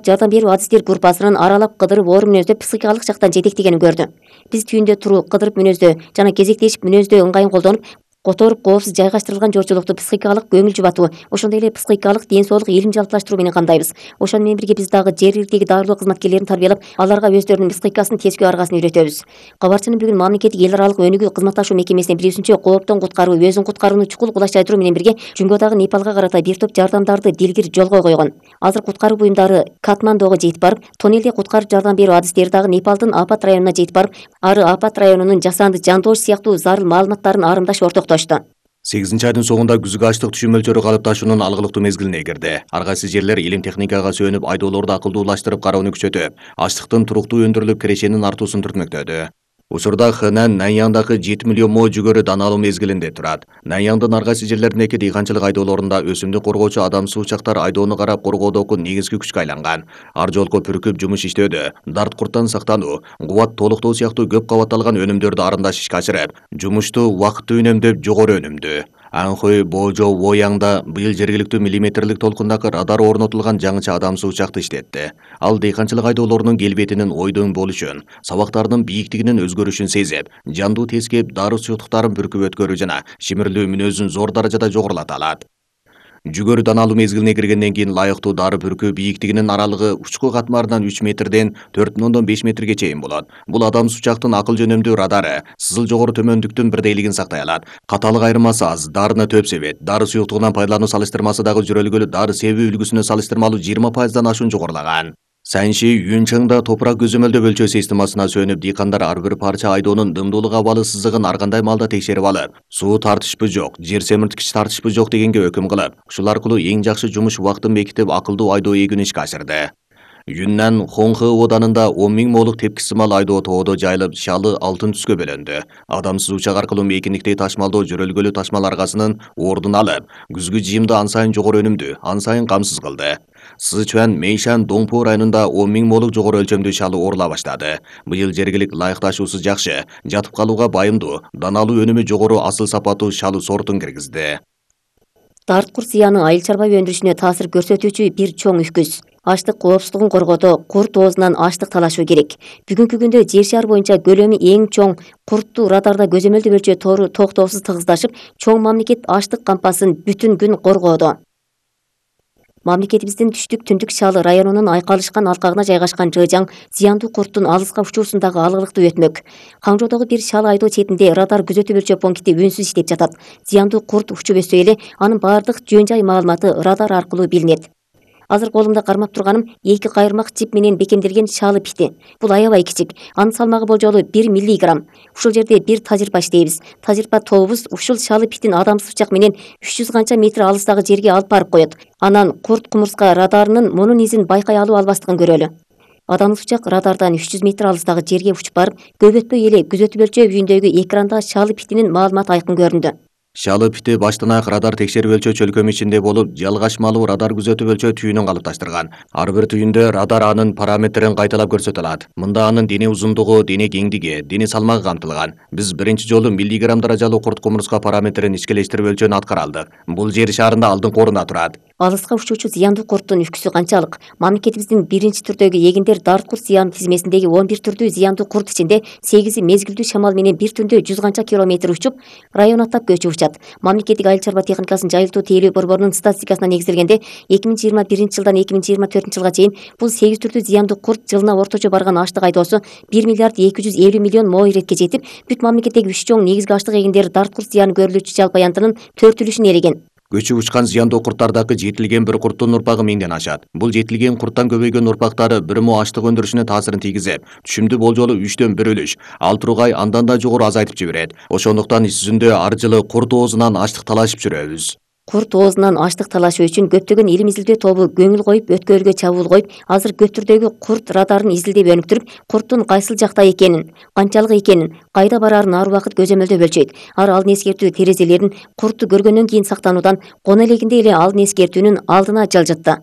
жардам берүү адистер группасынын аралап кыдырып оор мүнөздө психикалык жактан жетектегенин көрдү. Биз түйүндө туруу кыдырып мүнөздө жана кезектешип мүнөздө ыңгайын колдонуп, которуп коопсуз жайгаштырылган жолчулукту психикалык көңүл жубатуу, ошондой эле психикалык ден соолук илим жалпылаштыруу менен камдайбыз. Ошону менен бирге биз дагы жергиликтеги дарылоо кызматкерлерин тарбиялап, аларга өздөрүнүн психикасын тескөө аргасын үйрөтөбүз. Кабарчынын бүгүн мамлекеттик эл аралык өнүгүү кызматташуу мекемесинин билүүсүнчө, кооптон куткаруу, өзүн куткарууну чукул кулачтайдыруу менен бирге Жумгодагы Непалга карата бир топ жардамдарды дилгир жолго койгон. Азыр куткаруу буюмдары Катмандуга жетип барып, тоннелде куткарып жардам берүү адистери дагы Непалдын Апат районуна жетип барып, ары Апат районунун жасанды жандоош сыяктуу зарыл маалыматтарын арымдаш ортоктошту. 8-айдын соңунда күзгү ачлык түшүм мөлчөрү калыпташуунун алгылыктуу мезгилине кирди. Ар кайсы жерлер илим техникага сүйөнүп айдоолорду акылдуулаштырып кароону күчөтүп, ачлыктын туруктуу өндүрүлүп кирешенин артуусун түртмөктөдү. Учурда Хэнан Наньяңдагы 7 миллион мо жүгөрү даналуу мезгилинде турат. Наньяңдын ар кайсы жерлериндеги дыйканчылык айдоолорунда өсүмдүк коргоочу адамсыз учактар айдоону карап коргоодогу негизги күчкө айланган. Ар жолку бүркүп жумуш иштөөдө, дарт курттан сактануу, кубат толуктоо сыяктуу көп кабатталган өнүмдөрдү арымдаш ишке ашырып, жумушту убакытты үнөмдөп жогору өнүмдүү. Анхой Божо Вояңда быйыл жергиликтүү миллиметрлик толкундагы радар орнотулган жаңыча адамсыз учакты иштетти. Ал дыйканчылык айдоолорунун келбетинин ойдон болушун, сабактарынын бийиктигинин өзгөрүшүн сезип, жандуу тескеп, дару суюктуктарын бүркүп өткөрүү жана шимирлүү мүнөзүн зор даражада жогорулата алат. Жүгөрү даналуу мезгилине киргенден кийин лайыктуу дары бүркүү бийиктигинин аралыгы учку катмарынан 3 метрден 4,5 метрге чейин болот. Бул адамсыз учактын акыл жөнөмдүү радары сызыл жогору төмөндүктүн бирдейлигин сактай алат. Каталык айырмасы аз, дарыны төп себет. Дары суюктугунан пайдалануу салыштырмасы дагы жөрөлгөлү дары себүү үлгүсүнө салыштырмалуу 20%дан ашуун жогорулаган. Сайынши Юнчаңда топурак көзөмөлдөө өлчөө системасына сүйөнүп, дыйкандар ар бир парча айдоонун дымдуулук абалы сызыгын ар кандай маалда текшерип алып, суу тартышпы жок, жер семирткич тартышпы жок дегенге өкүм кылып, ушул аркылуу эң жакшы жумуш убактын бекитип, акылдуу айдоо эгүүнү ишке ашырды. Юннан Хонхэ оданында 10 000 молук тепки сымал айдоо тоодо жайылып, шалы алтын түскө бөлөндү. Адамсыз учак аркылуу мейкиндикти ташмалдоо жөрөлгөлүү ташмал аргасынын ордун алып, күзгү жыйымды ан сайын жогору өнүмдүү, ан сайын камсыз кылды. Сычуан Мэйшан Доңпу районунда 10 000 молук жогору өлчөмдүү шалы орула баштады. Быйыл жергилик ылайыкташуусу жакшы, жатып калууга байымдуу, даналуу өнүмү жогору асыл сапаттуу шалы сортун киргизди. Дарт курт зыяны айыл чарба өндүрүшүнө таасир көрсөтүүчү бир чоң үкүз. Ачлык коопсуздугун коргоодо курт оозунан ачлык талашуу керек. Бүгүнкү күндө жер шары боюнча көлөмү эң чоң куртту радарда көзөмөлдөө өлчөө тору токтоосуз тыгыздашып, чоң мамлекет ачлык кампасын бүтүн күн коргоодо. Мамлекетибиздин түштүк-түндүк шалы районунун айкалышкан алкагына жайгашкан Жыжаң зыяндуу курттун алыска учуусундагы алгылыкты өтмөк. Каңжоодогу бир шалы айдоо четинде радар күзөтүү өлчөө пункти үнсүз иштеп жатат. Зыяндуу курт учуп өссө эле анын баардык жөн-жай маалыматы радар аркылуу билинет. Азыр колумда кармап турганым 2 кайырмак чип менен бекемделген шалы пити. Бул аябай кичик. Анын салмагы болжолу 1 миллиграмм. Ушул жерде бир тажрыйба иштейбиз. Тажрыйба тобубуз ушул шалы питин адамсыз учак менен 300 канча метр алыстагы жерге алып барып коет. Анан курт кумурска радарынын мунун изин байкай алуу албастыгын көрөлү. Адамсыз учак радардан 300 метр алыстагы жерге учуп барып, көп өтпөй эле күзөтүү өлчөө үйүндөгү экранда шалы питинин маалыматы айкын көрүндү. Шалы пити баштан аяк радар текшерип өлчөө чөлкөмү ичинде болуп, жалгашмалуу радар күзөтүп өлчөө түйүнүн калыпташтырган. Ар бир түйүндө радар анын параметрин кайталап көрсөтө алат. Мында анын дене узундугу, дене кеңдиги, дене салмагы камтылган. Биз биринчи жолу миллиграмм даражалуу курт кумурска параметрин ичкелештирип өлчөөнү аткара алдык. Бул жер шарында алдыңкы орунда турат. Алыска учуучу зыяндуу курттун үкүсү канчалык? Мамлекетибиздин биринчи түрдөгү эгиндер дарт курт зыян тизмесиндеги 11 түрдүү зыяндуу курт ичинде 8 мезгилдүү шамал менен бир түндө 100 канча километр учуп, район аттап көчүп учат. Мамлекеттик айыл чарба техникасын жайылтуу тейлөө борборунун статистикасына негизделгенде 2021 жылдан 2024 жылга чейин бул 8 түрдүү зыяндуу курт жылына орточо барган ачлык айдоосу 1 миллиард 250 миллион мо иретке жетип, бүт мамлекеттеги 3 чоң негизги ачлык эгиндери дарт курт зыяны көрүлүүчү жалпы аянтынын 4/4-үн ээлеген. Көчүп учкан зыяндуу курттардагы жетилген бир курттун урпагы 1000ден ашат. Бул жетилген курттан көбөйгөн урпактары бир мо ачлык өндүрүшүнө таасирин тийгизип, түшүмдү болжолу 3төн 1 үлүш, ал тургай андан да жогору азайтып жиберет. Ошондуктан иш жүзүндө ар жылы курт оозунан ачлык талашып жүрөбүз. Курт оозунан ачлык талашуу үчүн көптөгөн илим изилдөө тобу көңүл коюп, өткөргө чабуул коюп, азыр көк түрдөгү курт радарын изилдеп өнүктүрүп, курттун кайсыл жакта экенин, канчалык экенин, кайда бараарын ар убакыт көзөмөлдөп өлчөйт. Алдын эскертүү терезелерин куртту көргөндөн кийин сактануудан, коно элегинде эле алдын эскертүүнүн алдына жылжытты.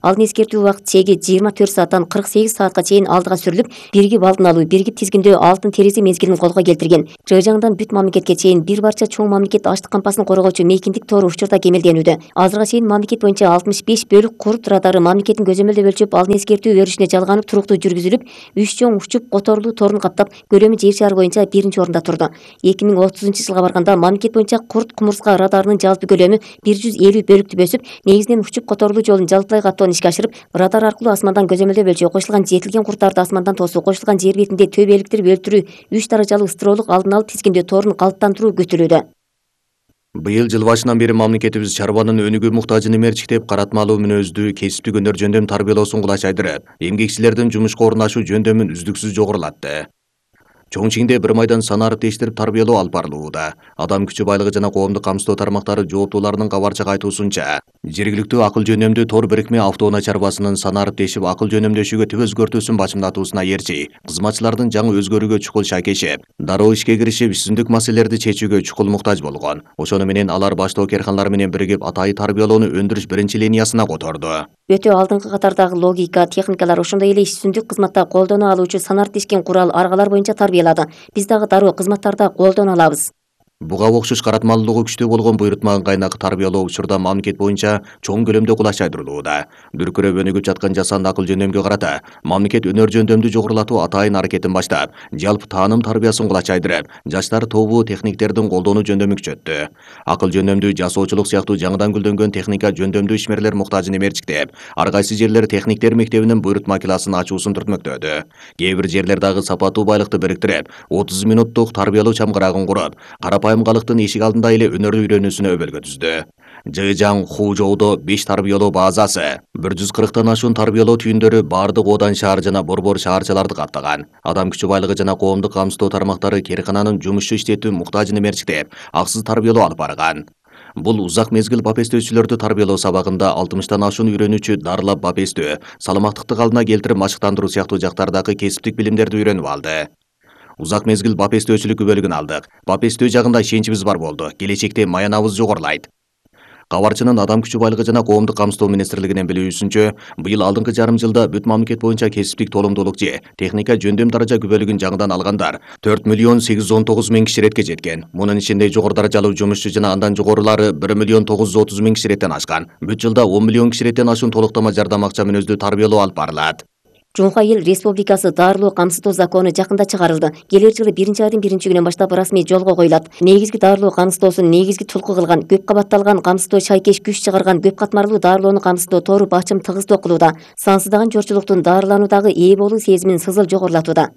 Ал эскертүү убакыт чеги 24 сааттан 48 саатка чейин алдыга сүрүлүп, биригип алдын алуу, биригип тизгиндөө алтын терезе мезгилин колго келтирген. ЖЖаңдан бүт мамлекетке чейин бир барча чоң мамлекет аштык кампасын коргоочу мейкиндик тору учурда кемелденүүдө. Азырга чейин мамлекет боюнча 65 бөлүк курут радары мамлекеттин көзөмөлдөп өлчөп, ал эскертүү өрүшүнө жалганып туруктуу жүргүзүлүп, 3 чоң учуп которулуу торун каптап, көлөмү жер шары боюнча 1-чи орунда турду. 2030-жылга барганда мамлекет боюнча курт кумурска радарынын жалпы көлөмү 150 бөлүктү өсүп, негизинен учуп которулуу жолун жалпылай каттоону ишке ашырып, радар аркылуу асмандан көзөмөлдөп өлчөө, кошулган жетилген курттарды асмандан тосуу, кошулган жер бетинде төбө эликтирип өлтүрүү, 3 даражалуу ыстыроолук алдын алып тизгиндөө торун калыптандыруу күтүлүүдө. Быйыл жыл башынан бери мамлекетибиз чарбанын өнүгүү муктажын эмерчиктеп, каратмалуу мүнөздүү кесиптик өнөр жөндөм тарбиялоосун кулачайдырып, эмгекчилердин жумушка орунашуу жөндөмүн үздүксүз жогорулатты. Чоң Чиңде бир майдан санарып тештирип тарбиялоо алып барылууда. Адам күчү байлыгы жана коомдук камсыздоо тармактары жооптууларынын кабарчык айтуусунча, жергиликтүү акыл жөнөмдүү тор бирикме автоунаа чарбасынын санарып тешип акыл жөнөмдөшүүгө түп өзгөртүүсүн бачымдатуусуна ээрчи, кызматчылардын жаңы өзгөрүүгө чукул шайкешип, дароо ишке киришип, түзүндүк маселелерди чечүүгө чукул муктаж болгон. Ошону менен алар баштоо керканалар менен биригип атайы тарбиялоону өндүрүш биринчи линиясына которду. Өтө алдыңкы катардагы логика, техникалар, ошондой эле түзүндүк кызматта колдоно алуучу санарып тешкен курал, аргалар боюнча тарбиялады. Биз дагы дароо кызматтарда колдоно алабыз. Буга окшош каратмалуулугу күчтүү болгон буйрутмаган кайнак тарбиялоо учурда мамлекет боюнча чоң көлөмдө кулачайдырылууда. Дүркүрөп өнүгүп жаткан жасанды акыл жөндөмгө карата мамлекет өнөр жөндөмдү жогорулатуу атайын аракетин баштап, жалпы тааным тарбиясын кулачайдырып, жаштар тобу техниктердин колдонуу жөндөмү күчөттү. Акыл жөндөмдүү жасоочулук сыяктуу жаңыдан гүлдөнгөн техника жөндөмдүү ишмерлер муктажын эмерчиктеп, ар кайсы жерлер техниктер мектебинин буйрутма классын ачуусун түртмөктөдү. Кээ бир жерлер дагы сапаттуу байлыкты бириктирип, 30 минуттук тарбиялоо чамгырагын куруп, карапайым калыктын эшик алдында эле өнөр үйрөнүүсүнө өбөлгө түздү. ЖЖаң Хужоудо 5 тарбиялоо базасы, 140тан ашуун тарбиялоо түйүндөрү бардык Одан шаар жана Борбор шаарчаларды каттаган. Адам күчү байлыгы жана коомдук камсыздоо тармактары керкананын жумушчу иштетүү муктажын эмерчиктеп, аксыз тарбиялоо алып барган. Бул узак мезгил бапестөөчүлөрдү тарбиялоо сабагында 60тан ашуун үйрөнүүчү дарылап бапестөө, саламаттыкты калдына келтирип машыктандыруу сыяктуу жактардагы кесиптик билимдерди үйрөнүп алды. Узак мезгил бапестөөчүлүк күбөлүгүн алдык. Бапестөө жагында ишеничибиз бар болду. Келечекте маянабыз жогорулайт. Кабарчынын Адам күчү байлыгы жана коомдук камсыздоо министрлигинин билүүсүнчө, быйыл алдыңкы жарым жылда бүт мамлекет боюнча кесиптик толумдуулук же техника жөндөм даража күбөлүгүн жаңыдан алгандар 4.819.000 киши иретке жеткен. Мунун ичинде жогору даражалуу жумушчу жана андан жогорулары 1.930.000 киши иреттен ашкан. Бүт жылда 10 миллион киши иреттен ашуун толуктама жардам акча мүнөздүү тарбиялоо алып барылат. Жумка эл республикасы дарылоо камсыздоо закону жакында чыгарылды. Келер жылы 1-айдын 1-күнүнөн баштап расмий жолго коюлат. Негизги дарылоо камсыздоосун негизги tulku кылган, көп кабатталган камсыздоо шайкеш күч чыгарган көп катмарлуу дарылоону камсыздоо тору бачым тыгыздоо кылууда. Сансыздаган жорчулуктун дарылануудагы ээ болуу сезимин сызыл жогорулатууда.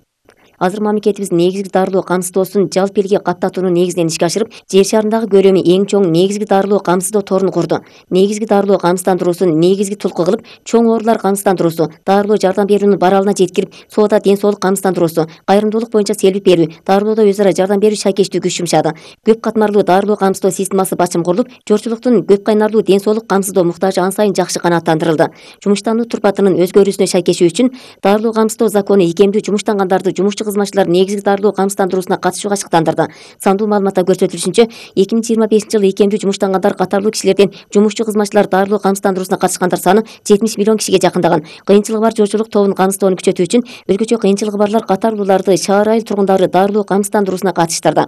Азыр мамлекетибиз негизги дарылоо камсыздоосун жалпы элге каттатууну негизинен ишке ашырып, жер шарындагы көлөмү эң чоң негизги дарылоо камсыздоо торун курду. Негизги дарылоо камсыздандыруусун негизги tulku кылып, чоң оорулар камсыздандыруусу, дарылоо жардам берүүнүн баралына жеткирип, соода ден соолук камсыздандыруусу, кайрымдуулук боюнча селбик берүү, дарылоодо өз ара жардам берүү шайкештүү күч жумшады. Көп катмарлуу дарылоо камсыздоо системасы бачым курулуп, жорчулуктун көп кайнарлуу ден соолук камсыздоо муктажы ан сайын жакшы канааттандырылды. Жумуштануу турпатынын өзгөрүүсүнө шайкешүү үчүн дарылоо камсыздоо закону ийкемдүү жумуштангандарды жумушчу кызматчылар негизги дарылоо камсыздандыруусуна катышууга ачыктандырды. Сандуу маалыматта көрсөтүлүшүнчө, 2025-жылы ийкемдүү жумуштангандар катарлуу кишилерден жумушчу кызматчылар дарылоо камсыздандыруусуна катышкандар саны 70 миллион кишиге жакындаган. Кыйынчылыгы бар жорчулук тобун камсыздоону күчөтүү үчүн өзгөчө кыйынчылыгы барлар катарлууларды шаар айыл тургундары дарылоо камсыздандыруусуна катыштырды.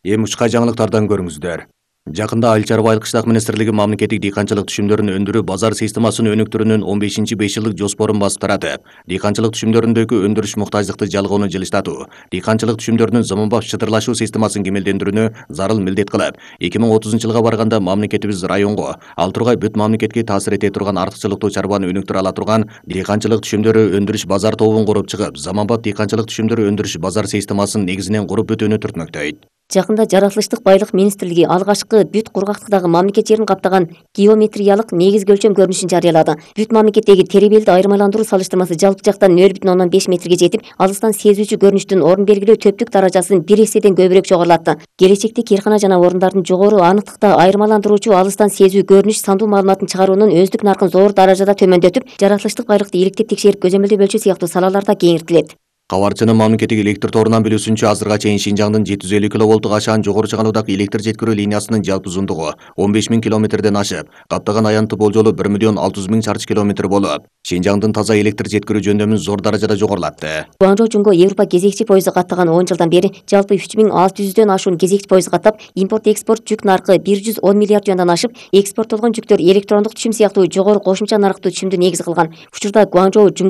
Эми учка жаңылыктардан көрүңүздөр. Жакында Айыл чарба айыл кыштак министрлиги мамлекеттик дыйканчылык түшүмдөрүн өндүрүү базар системасын өнүктүрүүнүн 15-5 жылдык жоспорун басып таратып, дыйканчылык түшүмдөрүндөгү өндүрүш муктаждыкты жалгоону жылыштатуу, дыйканчылык түшүмдөрүнүн заманбап чытырлашуу системасын кемелдендирүүнү зарыл милдет кылып, 2030-жылга барганда мамлекетибиз районго, ал тургай бүт мамлекетке таасир эте турган артыкчылыктуу чарбаны өнүктүрө ала турган дыйканчылык түшүмдөрү өндүрүш базар тобун куруп чыгып, заманбап дыйканчылык түшүмдөрү өндүрүш базар системасын негизинен куруп бүтүүнү түртмөктөйт. Жакында жаратылыштык байлык министрлиги алгачкы бүт кургактыктагы мамлекет жерин каптаган геометриялык негизги өлчөм көрүнүшүн жарыялады. Бүт мамлекеттеги теребелди айырмаландыруу салыштырмасы жалпы жактан 0,5 метрге жетип, алыстан сезүүчү көрүнүштүн орун белгилөө төптүк даражасын 1 эседен көбүрөөк жогорулатты. Келечекте киркана жана орундардын жогору анықтыкта айырмаландыруучу алыстан сезүү көрүнүш сандуу маалыматын чыгаруунун өздүк наркын зор даражада төмөндөтүп, жаратылыштык байлыкты иликтеп текшерип көзөмөлдөп өлчөө сыяктуу салаларда кеңиртилет. Кабарчынын мамлекеттик электр торунан билүүсүнчө, азырга чейин Шинжаңдын 750 киловолттук ашаан жогору чыгануудагы электр жеткирүү линиясынын жалпы узундугу 15 000 километрден ашып, каптаган аянты болжолу 1 600 000 чарчы километр болуп, Шинжаңдын таза электр жеткирүү жөндөмүн зор даражада жогорулатты. Гуанчжоу Жунго Европа кезекчи поезду каттаган 10 жылдан бери жалпы 3600дөн ашуун кезекчи поезд каттап, импорт-экспорт жүк наркы 110 миллиард юандан ашып, экспорттолгон жүктөр электрондук түшүм сыяктуу жогору кошумча нарыктуу түшүмдү негиз кылган. Учурда Гуанчжоу Жунго